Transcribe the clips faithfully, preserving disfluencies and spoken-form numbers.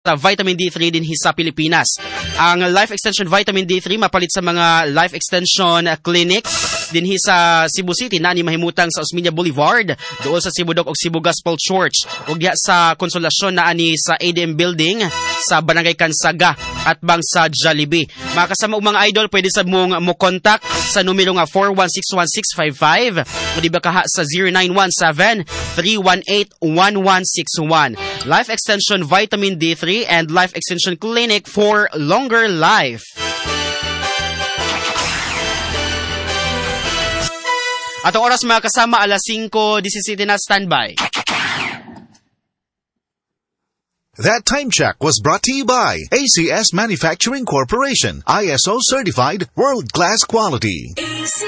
Vitamin D three dinhi sa Pilipinas. Ang Life Extension Vitamin D three mapalit sa mga Life Extension Clinic dinhi sa Cebu City na ni mahimutang sa Osmeña Boulevard, duol sa Cebu Doc ug Cebu Gospel Church, ug diha sa Consolacion na ani sa A D M Building sa Barangay Kansaga at bang sa Jollibee. Mga kasama ug mga idol, pwede sa mong mo contact sa numero nga four one six one six five five o di ba kaha sa zero nine one seven, three one eight, one one six one. Life Extension Vitamin D three and Life Extension Clinic for longer life. Atong oras, mga kasama, alas singko disisiete na. Standby. That time check was brought to you by A C S Manufacturing Corporation, I S O certified world-class quality. A C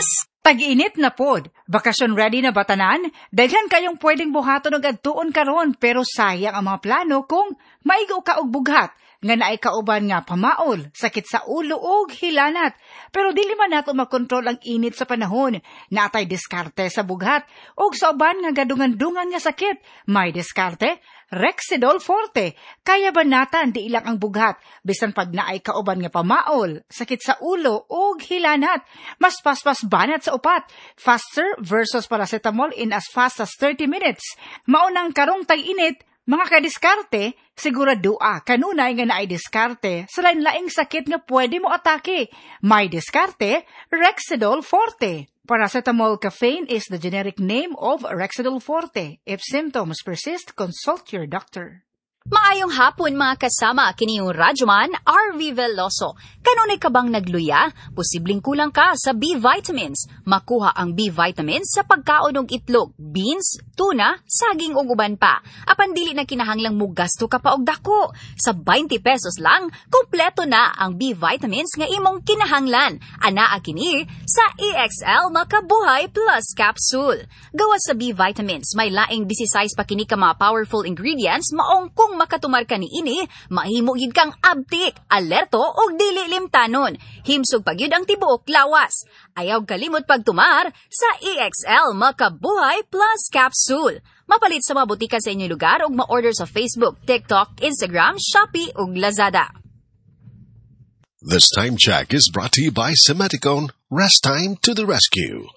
S. Tag-init na pod. Bakasyon ready na ba tanan? Daghan kayong pwedeng buhaton og adtuon karon, pero sayang ang mga plano kung maigo ka og bughat nga naay kauban nga pamaol, sakit sa ulo ug hilanat. Pero dili man nato makontrol ang init sa panahon. Naatay diskarte sa bughat ug sa uban nga gadungan-dungan nga sakit. May diskarte, Rexidol Forte. Kaya banatan di ilang ang bughat bisan pag naay kauban nga pamaol, sakit sa ulo ug hilanat. Mas paspas banat sa upat. Faster versus paracetamol in as fast as thirty minutes. Maunang karong tag-init, mga kadiskarte, siguradoa kanunay nga naay diskarte sa lain-laing sakit nga pwede mo atake. May diskarte, Rexidol Forte. Paracetamol caffeine is the generic name of Rexidol Forte. If symptoms persist, consult your doctor. Maayong hapon, mga kasama, kini yung Radyoman R V Veloso. Kanunay ka bang nagluya? Posibleng kulang ka sa B vitamins. Makuha ang B vitamins sa pagkaon og itlog, beans, tuna, saging ug uban pa. Apan dili na kinahanglang mugasto ka pa og dako. Sa twenty pesos lang, kumpleto na ang B vitamins nga imong kinahanglan. Anaa kini sa E X L Makabuhay Plus Capsule. Gawas sa B vitamins, may laing sixteen pa kini ka mga powerful ingredients, maong kung makatumar ka niini, mahimo gid kang abtik, alerto ug dili limtanon. Himsog pa gyud ang tibuok lawas. Ayaw kalimot pagtumar sa E X L Makabuhay Plus Capsule. Mapalit sa mga botika sa inyong lugar ug ma-order sa Facebook, TikTok, Instagram, Shopee ug Lazada. This time check is brought to you by Simeticone. Rest time to the rescue.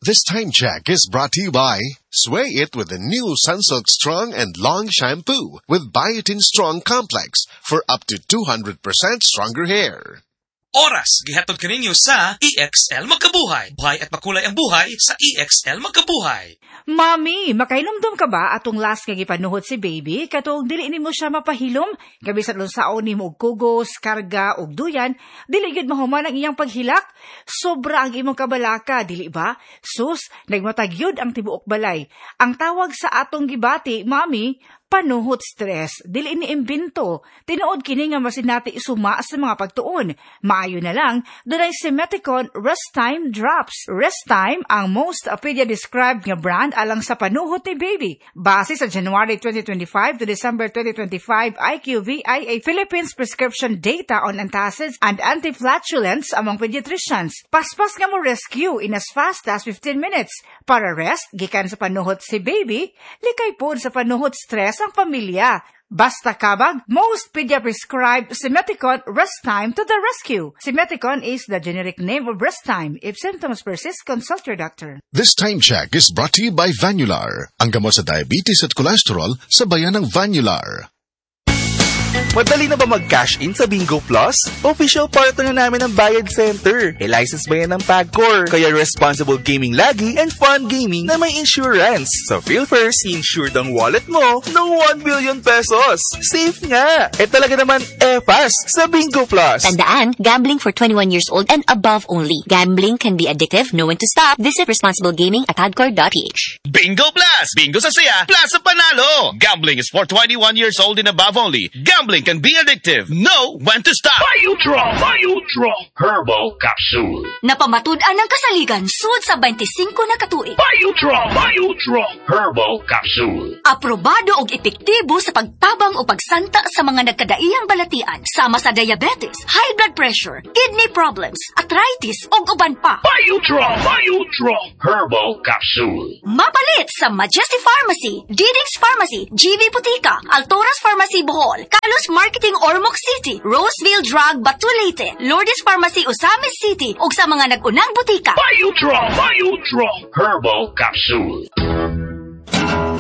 This time check is brought to you by Sway It with the new Sunsilk Strong and Long Shampoo with Biotin Strong Complex for up to two hundred percent stronger hair. Oras, gihatod kaninyo sa E X L Magkabuhay. Buhay at makulay ang buhay sa E X L Magkabuhay. Mami, makahinumdum ka ba atong last nga gipanuhot si baby katong dili nimo siya mapahilom? Bisan unsaon nimo og kugos, karga ug duyan, dili gyud mahuman ang iyang paghilak. Sobra ang imong kabalaka, dili ba? Sus, nagmatag gyud ang tibuok balay. Ang tawag sa atong gibati, mami, panuhot stress. Dili ni imbento. Tinuod kini nga masinati suma sa mga pagtuon. Maayo na lang, dunay Simeticone Rest Time Drops. Rest Time ang most pedia described nga brand alang sa panuhot ni baby. Base sa January twenty twenty-five to December twenty twenty-five I Q V I A Philippines prescription data on antacids and antiflatulents among pediatricians. Paspas nga mo rescue in as fast as fifteen minutes. Para rest, gikan sa panuhot si baby, likay pod sa panuhot stress ang pamilya. Basta kabag, most pedia prescribed Simeticone Rest Time to the rescue. Simeticone is the generic name of Rest Time. If symptoms persist, consult your doctor. This time check is brought to you by Vanular, ang gamot sa diabetes at cholesterol sa bayan ng Vanular. Madali na ba mag-cash in sa Bingo Plus? Official partner na namin ang Bayad Center. E license ba yan ng PAGCOR? Kaya responsible gaming lagi and fun gaming na may insurance. Sa PhilFirst, insured ang wallet mo ng one billion pesos. Safe nga! E talaga naman, e-fast sa Bingo Plus. Tandaan, gambling for twenty-one years old and above only. Gambling can be addictive. Know when to stop. Visit responsible gaming at pagcor dot P H. Bingo Plus! Bingo sa saya, plus sa panalo! Gambling is for twenty-one years old and above only. Gambling Gambling can be addictive. Know when to stop. Biotron, Biotron Herbal Capsule. Napamatud-an ang kasaligan sud sa twenty-five na katuig. Biotron, Biotron Herbal Capsule. Aprobado og epektibo sa pagtabang o pagsanta sa mga nagkadaiyang balatian, sama sa diabetes, high blood pressure, kidney problems, arthritis ug uban pa. Biotron, Biotron Herbal Capsule. Mapalit sa Majesty Pharmacy, Didix Pharmacy, G V Putika, Altoras Pharmacy Bohol, Carlos Marketing Ormoc City, Roseville Drug Batulite, Lourdes Pharmacy Osamis City ug sa mga nag-unang butika. Biotron, Biotron Herbal Capsule.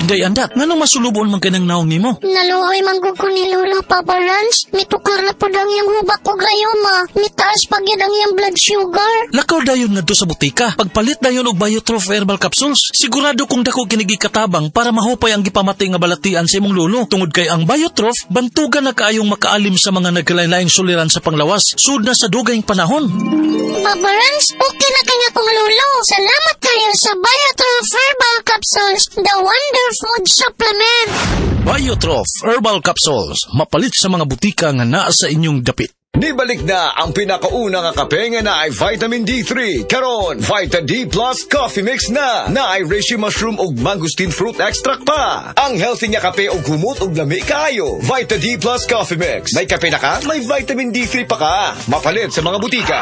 Day andat, nganong masulubon man kanang naong nimo? Naluoy man gud ko ni Lolo, Papa Rans. Mitukar na pud ang iyang hubak og rayoma. Mitaas pa gyud ang iyang blood sugar. Lakaw dayon ngadto sa butika. Pagpalit dayon og Biotroph Herbal Capsules. Sigurado kong dako kini gikatabang para mahupay ang gipamati nga balatian sa imong lolo. Tungod kay ang Biotroph, bantugan na kaayong makaalim sa mga nagkalain-laing suliran sa panglawas. Sud na sa dugayng panahon. Papa Rans, okay na kanya kong lolo. Salamat kayo sa Biotroph Herbal Capsules, the wonder food supplement. Biotroph Herbal Capsules, mapalit sa mga butika nga naa sa inyong dapit. Nibalik na ang pinakauna nga kape nga naay vitamin D three. Karon, Vita D Plus Coffee Mix na. Naay reishi mushroom ug mangosteen fruit extract pa. Ang healthy nga kape ug humot ug lami kaayo. Vita D Plus Coffee Mix. May kape na ka, may vitamin D three pa ka. Mapalit sa mga butika.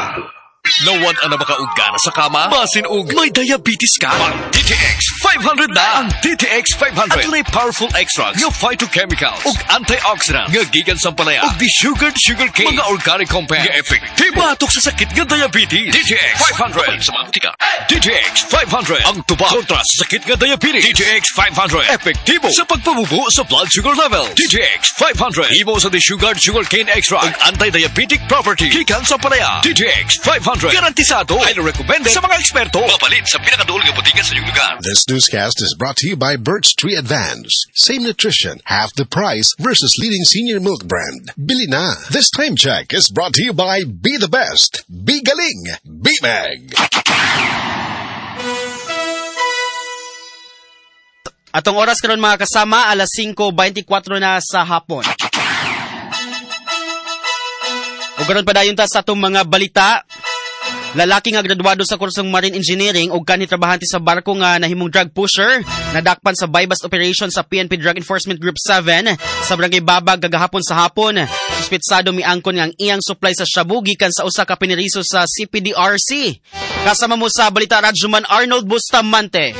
Nawad na ba ka og gana sa kama? Basin og may diabetes ka? Ang D T X five hundred na! Ang D T X five hundred adunay powerful extracts nga phytochemicals ug antioxidant nga gikan sa ampalaya ug desugared sugar cane, mga organic compounds nga epektibo batok sa sakit nga diabetes. D T X five hundred sa mga butika. D T X five hundred ang tubag kontra sa sakit nga diabetes. D T X five hundred epektibo sa pagpabubo sa blood sugar level. D T X five hundred imo sa desugared sugar cane extract ug anti-diabetic property gikan sa ampalaya. D T X five hundred garantisado, highly recommended sa mga eksperto. Mapalit sa pinakaduol nga butika sa inyong lugar. This newscast is brought to you by Birch Tree Advance. Same nutrition, half the price versus leading senior milk brand. Bili na. This time check is brought to you by Be the Best, Be Galing, Be Mag. Atong oras karon mga kasama, alas singko twenty-four na sa hapon. O karon padayon ta sa atong mga balita. Lalaki nga graduado sa kursong Marine Engineering ug kanhi trabahante sa barko nga nahimong drug pusher nadakpan sa buy-bust operation sa P N P Drug Enforcement Group seven sa Barangay Babag gagahapon sa hapon. Suspitsado miangkon nga ang iyang supply sa shabu gikan sa usa ka piniriso sa C P D R C. Kasama mo sa Balita Radyoman Arnold Bustamante.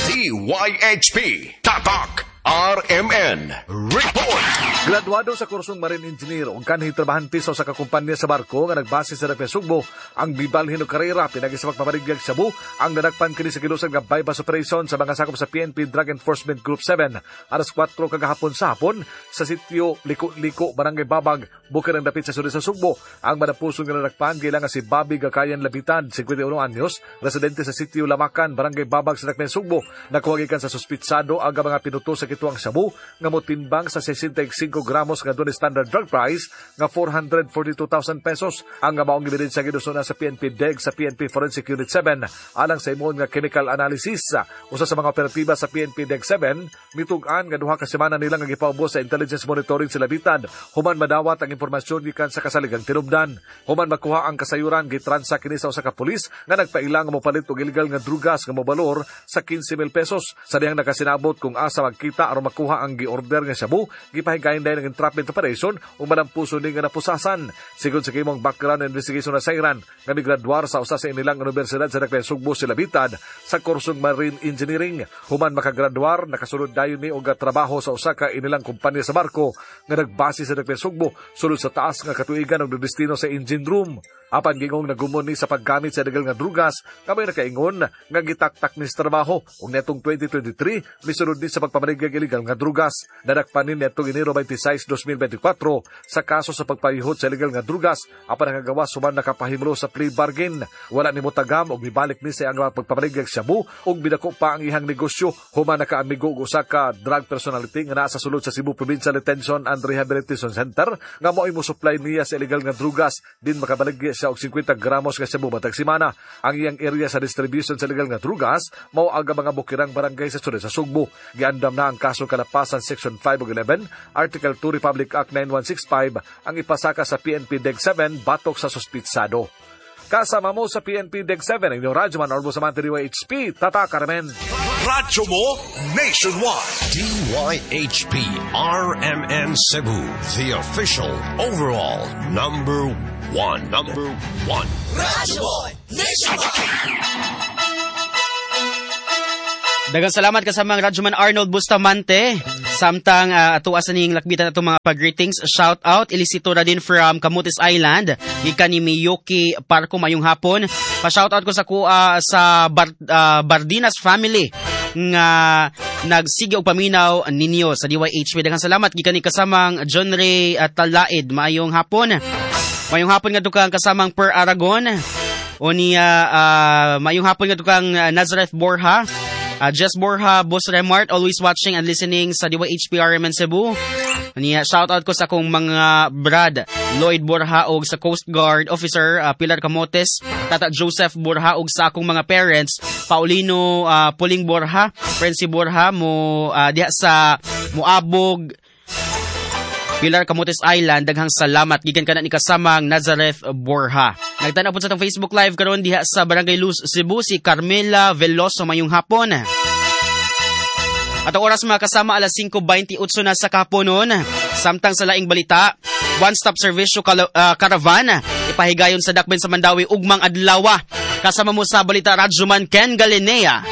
D Y H P Tatak R M N Report. Graduado sa kursong Marine Engineer ug kanhi trabahante sa usa ka kumpanya sa barko nga nagbase sa Dapia Sugbo ang mibalhin og karera pinagi sa pagpamarigyag shabu ang nadakpan kini sa gilusag nga bypass operation sa mga sakop sa P N P Drug Enforcement Group seven alas kwatro kagahapon sa hapon sa sitio Liko-Liko, Barangay Babag, bukid ang dapit sa suri sa Sugbo. Ang manapuson nga nadakpan giila nga si Bobby Gakayan Labitan, fifty-one anyos, residente sa sitio Lamakan, Barangay Babag sa Dapia Sugbo. Nakuha gikan sa suspitsado ang mga pinuto sa kituang shabu nga motimbang sa sixty-five gramos nga dunay standard drug price nga four hundred forty-two thousand pesos. Ang maong ebidensya gidusuna sa P N P D E G sa P N P Forensic Unit seven alang sa imong nga chemical analysis. Usa sa mga operatiba sa P N P D E G seven mitug-an nga duha ka semana nila nga gipaubos sa intelligence monitoring sa Labitan human madawat ang impormasyon gikan sa kasaligang tinubdan. Human makuha ang kasayuran gitransa kini sa usa ka pulis nga nagpailang mopalit og illegal nga drugas nga mobalor sa fifteen mil pesos. Sa dihang nakasinabot kung asa magkita aron makuha ang giorder nga shabu, gipahigayon dahil ng entrapment operation ug malampuso ni nga napusasan. Sigon sa kimong background investigation na sayran nga migraduar sa usa sa inilang universidad sa Dakbayan Sugbo si Labitan sa kursong Marine Engineering. Human makagraduar, nakasulod dayon ni og trabaho sa usa ka inilang kumpanya sa barko nga nagbase sa Dakbayan Sugbo sulod sa taas nga katuigan og destino sa engine room. Apan gingong nagumon ni sa paggamit sa illegal nga drugas, kamay nakaingon nga gitaktak ni sa trabaho ug netong twenty twenty-three misulod ni sa pagpamaligyag illegal nga drugas. Nadakpan ni netong Enero twenty-six, twenty twenty-four sa kaso sa pagpayihot sa illegal nga drugas apan nakagawas human nakapahimlo sa plea bargain. Wala ni motagam og mibalik ni sa iyang pagpamaligyag shabu ug bidako pa ang iyang negosyo human nakaamigo og usa ka drug personality nga naa sa sulod sa Cebu Provincial Detention and Rehabilitation Center nga mao'y mo supply niya sa illegal nga drugas din makabaligya siya og fifty gramos nga shabu matag semana. Ang iyang area sa distribution sa illegal nga drugas mao ang mga bukirang barangay sa sulod sa Sugbo. Giandam na ang kaso kalapasan Section five ug eleven, Article Article two Republic Act nine one six five ang ipasaka sa P N P D E G seven batok sa suspitsado. Kasama mo sa P N P D E G seven, ang inyong Radyoman Orbo Samante D Y H P, Tata Carmen. Radyo mo nationwide. D Y H P R M N Cebu, the official overall number one. Number one. Radyo mo nationwide. Daghang salamat kasamang Radyoman Arnold Bustamante. Samtang uh, atua sa ning lakbitan atong mga pag-greetings, shout out Elisito Radin from Camotes Island, gikan ni Miyuki Parko, mayong hapon. Pa-shout out ko sa kuha sa Bar, uh, Bardinas family nga nagsige og paminaw ninyo sa D Y H P. Daghang salamat gikan ni kasamang John Ray at Talaid, mayong hapon. Mayong hapon ngadto kang kasamang Per Aragon. O niya uh, mayong hapon ngadto kang Nazareth Borja. Uh, Jess Borja, Boss Remart, always watching and listening sa D Y H P R M N Cebu. Niya, shout out ko sa akong mga brad, Lloyd Borja og sa Coast Guard Officer uh, Pilar Camotes, Tata Joseph Borja og sa akong mga parents, Paulino uh, Puling Borja, Prensi Borja mo uh, diha sa Moabog, Pilar Camotes Island. Daghang salamat gikan kana ni kasamang Nazareth Borja. Nagtan-aw po sa atong Facebook Live karon diha sa Barangay Luz, Cebu, si Carmela Veloso, mayong hapon. At ang oras mga kasama alas singko beinte-otso na sa kahaponon. Samtang sa laing balita, one-stop servisyo kala, uh, caravan ipahigayon sa Dakben sa Mandawi ugmang adlaw. Kasama mo sa balita Radyoman Ken Galinea.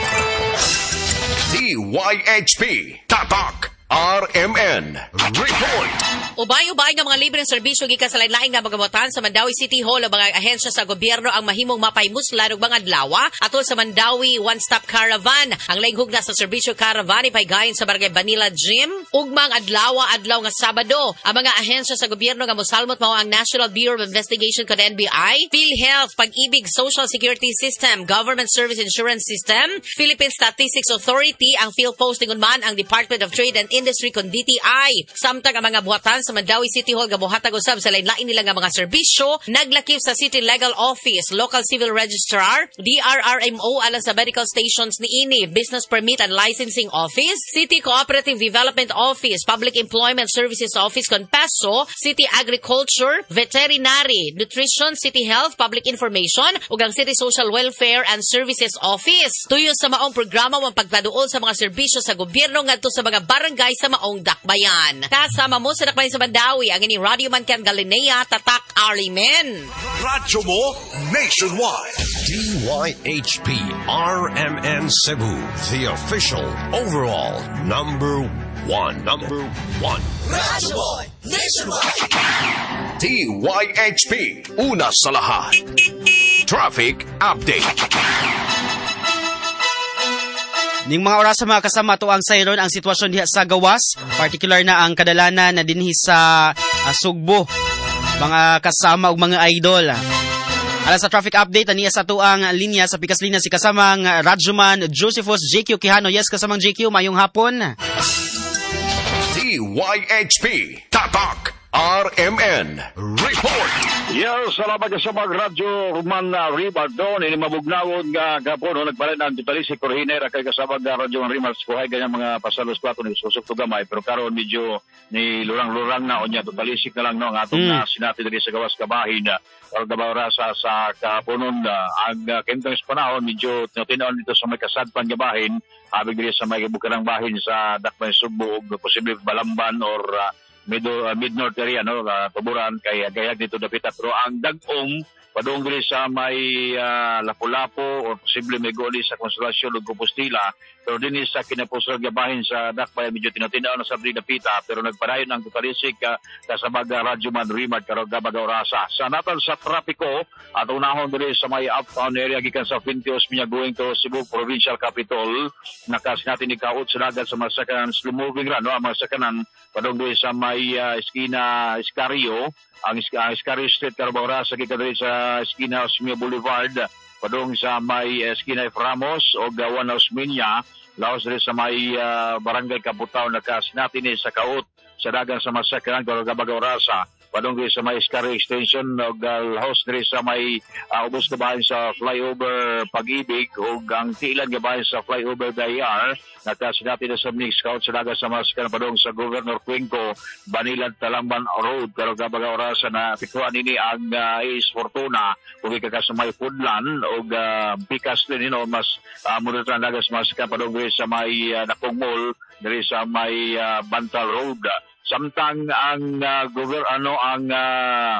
D Y H P Tatak R M N Report. Ubay-ubay nga mga libreng serbisyo gikan sa lain-laing nga magamutan sa Mandaue City Hall o mga ahensya sa gobyerno ang mahimong mapaymuslan og mga adlaw atol sa Mandaue One Stop Caravan. Ang laing hugna sa serbisyo caravan ipaygayon sa Barangay Banila Gym ugmang adlaw adlaw nga Sabado. Ang mga ahensya sa gobyerno nga mosalmot mao ang National Bureau of Investigation kon N B I, PhilHealth, Pag-ibig Social Security System, Government Service Insurance System, Philippine Statistics Authority, ang PhilPost ingon man ang Department of Trade and Industry kon D T I. Samtang ang mga buhatan sa Mandaue City Hall gabuhatag usab sa lain-lain nila nga mga serbisyo, naglakip sa City Legal Office, Local Civil Registrar, D R R M O alang sa medical stations niini, Business Permit and Licensing Office, City Cooperative Development Office, Public Employment Services Office kon PESO, City Agriculture, Veterinary, Nutrition, City Health, Public Information ug ang City Social Welfare and Services Office. Tuyo sa maong programa ang pagpaduol sa mga serbisyo sa gobyerno ngadto sa mga barangay sa maong dakbayan. Kasama mo sa dakbayan sa Mandaue, ang inyong Radyo Man Ken Galinea, Tatak Arimen. Radyo mo nationwide. D Y H P R M N Cebu, the official overall number one. Number one. Radyo mo nationwide. D Y H P, una sa lahat. Traffic update. Ning mga oras sa mga kasama to ang sayron ang sitwasyon diha sa gawas, particular na ang kadalanan na dinhi sa uh, Sugbo, mga kasama ug mga idol. Alas sa traffic update aniya sa tuang linya sa pikas linya si kasamang Radyoman Josephus J Q Quijano. Yes, kasamang J Q, mayong hapon. D Y H P Tatak R M N Report. Yes, salamat ka sa mga Radyo Roman Ribardon. Ini mabugnawon nga gapon, no, nagpalit ang tutalisi Corhinera kay kasama nga Radyo Rimars kuhay ganyan mga pasalos plato ni susok to gamay pero karon medyo ni lurang-lurang na unya tutalisik na lang no ang atong mm. uh, sinati diri sa gawas kabahin uh, or sa kapunon uh, ang uh, kentang panahon medyo tinuon dito sa may kasadpan gabahin habig diri sa may bukarang bahin sa Dakbayan Sugbo ug posible Balamban or uh, mid uh, mid-north area no uh, tuburan kay gayag dito dapita pero ang dag-om padung diri sa may uh, Lapu-Lapu or posible may goli sa Consolacion ug Compostela pero dinhi sa kinapusog gabahin sa Dakbayan medyo tinatinaw na sa dapita pero nagpadayon ang tutalisik uh, kasabag uh, Radyo Man Rimad karong gabaga orasa sa natan sa trapiko at unahon diri sa may uptown area gikan sa Fuente Osmeña going to Cebu Provincial Capital nakasinati ni kaut sa dagat sa mga sakanan slow moving ra no ang mga sakanan padung diri sa may uh, eskina Escario ang uh, Escario Street karong orasa gikan diri sa eskina Osmeña Boulevard padung sa may eskina F. Ramos o Gawan Osmeña laos diri sa may uh, barangay Kabutaw nakasinati ni sa kaut sa dagan sa masakyanan karong gabaga orasa padung sa may Scarry Extension og uh, host diri sa may uh, ubos kabahin sa flyover Pag-ibig ug ang tiilan gabahin sa flyover B I R nakasinati na sa mix scout sa dagan sa masakyanan padung sa Governor Cuenco Banilad Talamban Road karong gabaga orasa na pikuan nini ang uh, Ace Fortuna ug ka sa may Pudlan ug uh, pikas din you know, mas uh, mudot ang dagan sa masakyanan padung diri sa may uh, Dakong Mall diri sa may uh, Bantal Road. Samtang ang uh, gover ano ang uh,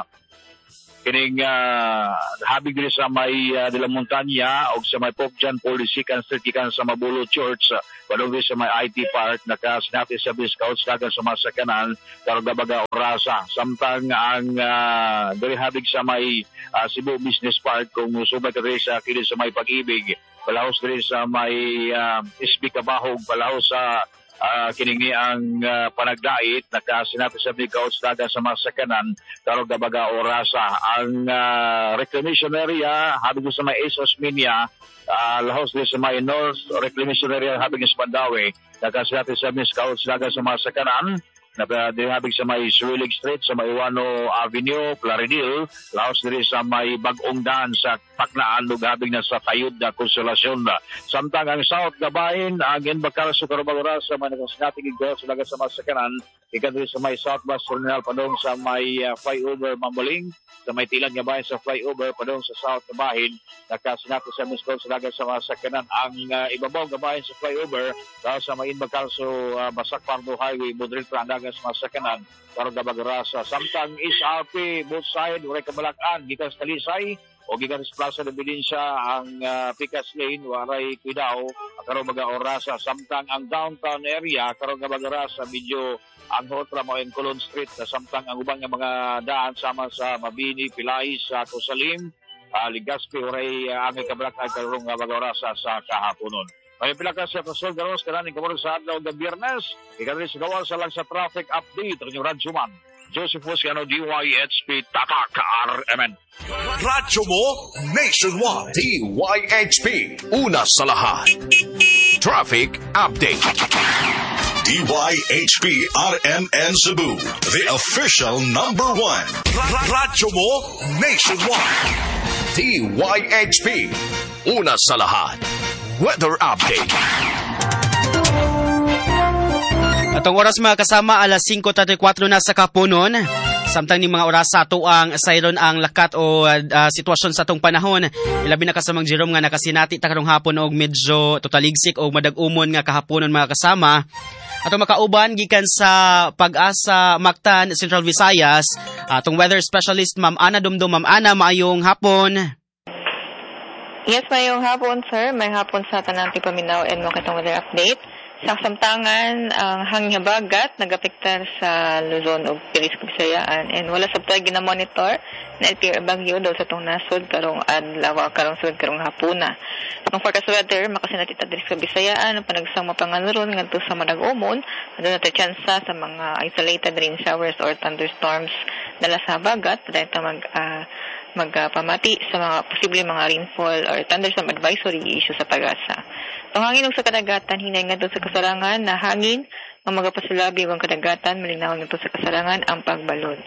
kining uh, habig diri sa may uh, de la Montaña og sa may Pope John Paul the Second Street gikan sa Mabulo Church padung diri sa may I T Park nakasinati sa scouts dagan sa masakyanan karong gabaga orasa. Samtang ang uh, diri habig sa may uh, Cebu Business Park kung musubay ka diri sa kini sa may Pag-ibig palahos diri sa may uh, S B Cabahug palahos sa Uh, kiningi ang uh, panagdait nakasinabi sa big-outs dagan sa masakyanan karong gabaga orasa. Ang uh, reclamation area habig sa may Ace Osmeña uh, lahos din sa may North Reclamation Area habig sa Mandaue nakasinabi sa big-outs dagan sa masakyanan nabig sa may Suilig Street sa may Iwano Avenue, Plaridel, laos diri sa may Bagong Daan sa Paknaan ug habig na sa Tayod na Konsolasyon. Samtang ang South Gabahin, ang Enbacal sa Karubagora sa may nakasinati gid sa dagan sa masakyanan, ikan diri sa may South Bus Terminal padung sa may uh, flyover Mambuling, sa may Tilan Gabahin sa flyover padung sa South Gabahin, nakasinati sa Miscon sa dagan sa masakyanan. Ang uh, ibabaw gabahin sa flyover laos sa may Enbacal sa uh, Basak Pardo Highway, Budril Pranda sa masakyanan karong gabagrasa. Samtang S R P both side waray kabalakan gikan sa Talisay o gikan sa Plaza de Benicia ang uh, Picas Lane waray kuidaw karong mga orasa. Samtang ang downtown area karong gabagrasa medyo ang hotra mao ang Colon Street. Samtang ang ubang nga mga daan sama sa Mabini, Pilay, sa Cosalim, uh, Legazpi waray uh, ang kabalakan karong gabagrasa sa kahaponon. May pila ka sa Pastor Garos, kananing kamuro sa adlaw ng Biyernes. Ikadali sa gawal sa lang sa traffic update ang inyong radyoman. Joseph Fuscano, D Y H P, Tatak R M N. Radyo mo, nationwide. D Y H P, una sa lahat. Traffic update. D Y H P R M N Cebu, the official number one. Radyo mo, nationwide. D Y H P, una sa lahat. Weather update. Atong oras mga kasama, alas singko treinta y cuatro na sa kapunon. Samtang ni mga oras sa ato ang sayron ang lakat o uh, sitwasyon sa atong panahon. Ilabi na kasamang Jerome nga nakasinati ta karong hapon og medyo totaligsik o madag-umon nga kahaponon mga kasama. Atong makauban gikan sa Pag-asa Mactan, Central Visayas, atong weather specialist Ma'am Ana Dumdum. Ma'am Ana, maayong hapon. Yes, mayong hapon, sir. May hapon sa tanang paminaw and makitang weather update. Sa kasamtangan, ang hangin habagat nagapektar sa Luzon ug Pilis Kabisayaan and wala sabtay ginamonitor na L P R bagyo daw sa tong nasod karong adlaw karong sud karong hapuna. Ang forecast weather makasinati ta diri sa Kabisayaan ang panagsang mapanganuron ngadto sa Manag-umon, aduna tay tsansa sa mga isolated rain showers or thunderstorms dala sa habagat padayon ta mag uh, magpamati sa mga posible mga rainfall or thunderstorm advisory issue sa Pag-asa. Ang hangin sa kadagatan hinay ngadto sa kasarangan na hangin ang magapasulabi ang kadagatan malinawon ngadto sa kasarangan ang pagbalod.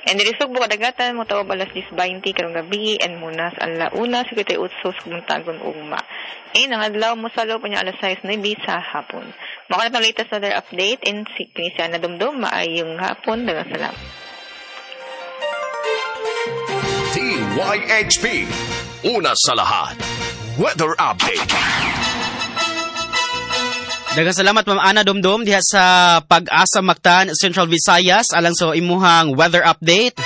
And diri sugbo kadagatan mo tawag alas diyes beinte karong gabi and munas alauna singkwenta y otso sa kabuntagon ugma. And ang adlaw mo salo pa niya alas sais nuebe sa hapon. Mao na ang latest weather update and si kini si Ana Dumdum maayong hapon, daghang salamat. D Y H P, una sa lahat. Weather update. Daghang salamat Ma'am Ana Dumdum diha sa Pag-asa Mactan, Central Visayas alang sa imuhang weather update.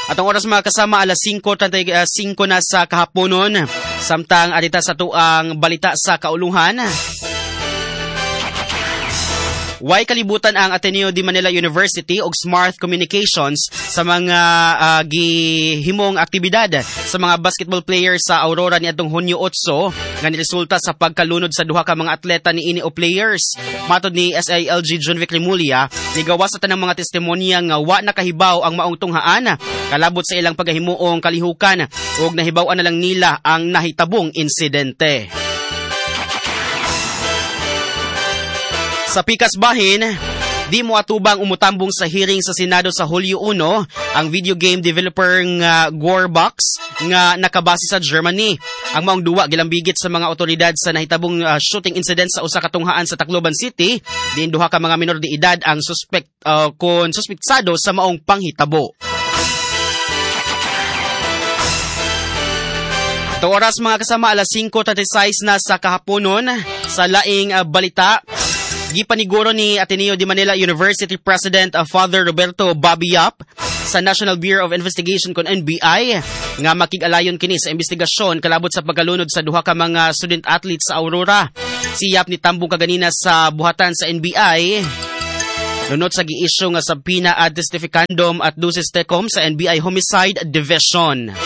At ang oras mga kasama alas singko treinta y singko na sa kahaponon. Samtang arita sa tuang balita sa kauluhan. Way kalibutan ang Ateneo de Manila University og Smart Communications sa mga uh, gihimong aktibidad sa mga basketball players sa Aurora niadtong Hunyo otso nga niresulta sa pagkalunod sa duha ka mga atleta niini o players. Matod ni S I L G John Vic Remulla, nigawas sa tanang mga testimonya nga wa nakahibaw ang maong tunghaan kalabot sa ilang paghimuong kalihukan ug nahibaw-an na lang nila ang nahitabong insidente. Sa pikas bahin, Di mo atubang umutambong sa hearing sa Senado sa Hulyo uno ang video game developer nga Gearbox nga nakabase sa Germany. Ang maong duwa gilambigit sa mga otoridad sa nahitabong uh, shooting incident sa usa ka tunghaan sa Tacloban City. Diin duha ka mga minor de edad ang suspect uh, kon suspektsado sa maong panghitabo. Ito oras mga kasama, alas singko trenta y sais na sa kahaponon. Sa laing uh, balita, gipaniguro ni Ateneo de Manila University President uh, Father Roberto Bobby Yap sa National Bureau of Investigation kon N B I nga makig-alayon kini sa investigasyon kalabot sa pagkalunod sa duha ka mga student athletes sa Aurora. Si Yap nitambong kaganina sa buhatan sa N B I nunot sa gi-issue nga subpoena ad testificandum at duces tecum sa N B I Homicide Division.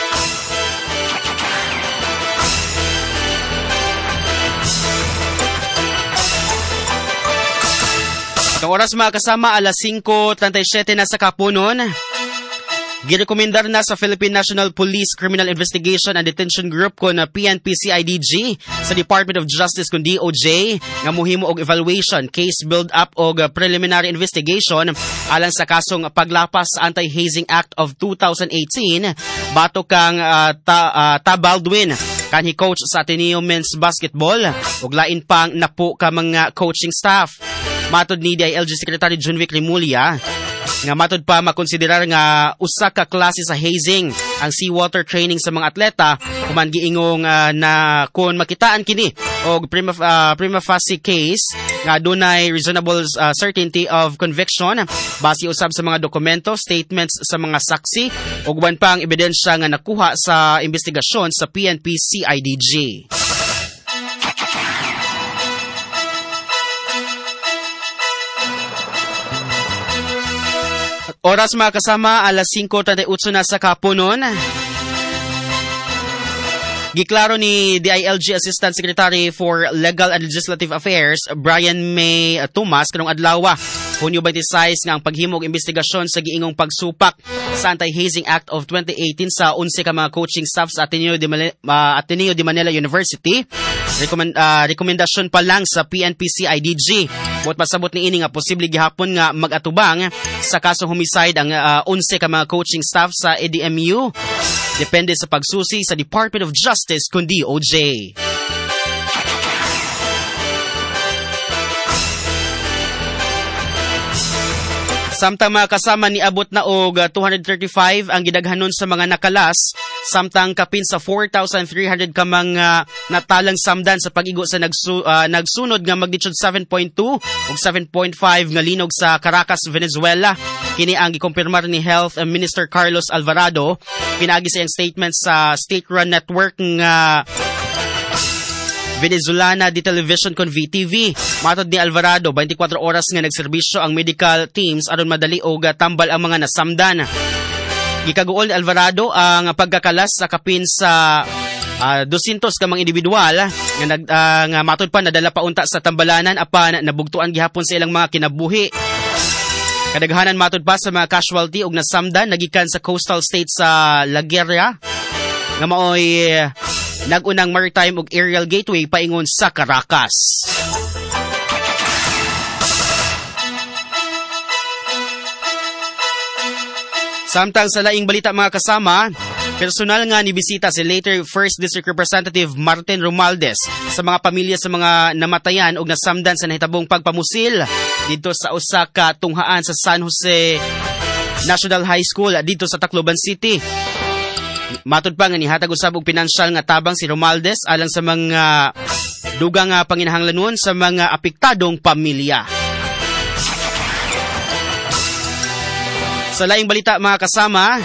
Itong oras mga kasama, alas singko trenta y siyete na sa kapunon. Girekomendar na sa Philippine National Police Criminal Investigation and Detention Group kon P N P C I D G sa Department of Justice kon D O J nga mohimo og evaluation, case build-up og preliminary investigation alang sa kasong paglapas sa Anti-Hazing Act of two thousand eighteen batok kang uh, ta, uh, Ta Baldwin kanhi coach sa Ateneo Men's Basketball ug lain pang napo ka mga coaching staff. Matod ni D I L G Secretary Junvic Remulla nga matod pa makonsiderar nga usa ka klase sa hazing ang seawater training sa mga atleta human giingong uh, na kon makitaan kini og prima, uh, prima facie case nga dunay reasonable uh, certainty of conviction base usab sa mga dokumento, statements sa mga saksi ug uban pang ebidensya nga nakuha sa investigasyon sa P N P C I D G. Oras mga kasama, alas singko trenta y otso na sa kapunon. Giklaro ni D I L G Assistant Secretary for Legal and Legislative Affairs, Brian May Tomas, karong adlaw, Hunyo twenty-six, nga ang paghimog investigasyon sa giingong pagsupak sa Anti-Hazing Act of twenty eighteen sa onse ka mga coaching staff sa Ateneo de Manila, uh, Ateneo de Manila University. Rekomend, uh, rekomendasyon pa lang sa P N P C I D G. Buot pasabot ni ini nga posible gihapon nga mag-atubang sa kasong homicide ang uh, onse ka mga coaching staff sa A D M U. Depende sa pagsusi sa Department of Justice kun D O J. Samtang mga kasama niabot na og two hundred thirty-five ang gidaghanon sa mga nakalas, samtang kapin sa four thousand three hundred ka mga natalang samdan sa pag-igo sa nagsu, uh, nagsunod nga magnitude seven point two ug seven point five nga linog sa Caracas, Venezuela. Kini ang gikumpirmar ni Health Minister Carlos Alvarado pinaagi sa iyang statement sa state-run network nga Venezolana de Television kon V T V. Matod ni Alvarado, twenty-four oras nga nagserbisyo ang medical teams aron madali og tambal ang mga nasamdan. Gikaguol ni Alvarado ang pagkakalas sa kapin sa uh, two hundred ka mga individual nga, nag, uh, nga matod pa nadala paunta sa tambalanan apan nabugtuan gihapon sa ilang mga kinabuhi. Kadaghanan matod pa sa mga casualty og nasamdan nagikan sa coastal state sa La Guerra nga maoy nagunang maritime ug aerial gateway paingon sa Caracas. Samtang sa laing balita mga kasama, personal nga nibisita si later First District Representative Martin Romualdez sa mga pamilya sa mga namatayan og nasamdan sa nahitabong pagpamusil dito sa usa ka tunghaan sa San Jose National High School dito sa Tacloban City. Matod pa nga nihatag usab og pinansyal nga tabang si Romualdez alang sa mga dugang nga panginahanglanon sa mga apektadong pamilya. Sa laing balita mga kasama,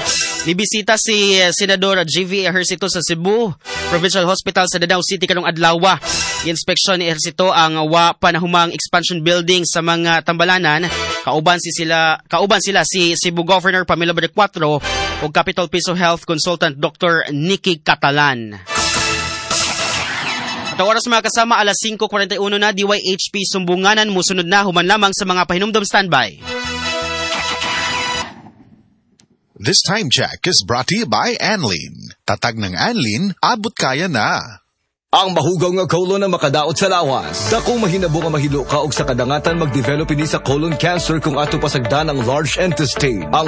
nibisita si Senador J V Ejercito sa Cebu Provincial Hospital sa Danao City karong adlaw. Giinspeksyon ni Ejercito ang wa panahumang expansion building sa mga tambalanan. Kauban si sila kauban sila si Cebu Governor Pamela Baricuatro ug Capitol Piso Health Consultant Doctor Nikki Catalan. At ang oras mga kasama, alas singko kwarenta y uno na, D Y H P Sumbunganan musunod na human lamang sa mga pahinumdom standby. This time check is brought to you by Anlene. Tatag ng Anlene, abot kaya na. Ang mahugaw nga colon ang makadaot sa lawas. Dakong mahinabo nga mahilo ka og sa kadangatan mag-develop ini sa colon cancer kung ato pasagdan ang large intestine. Ang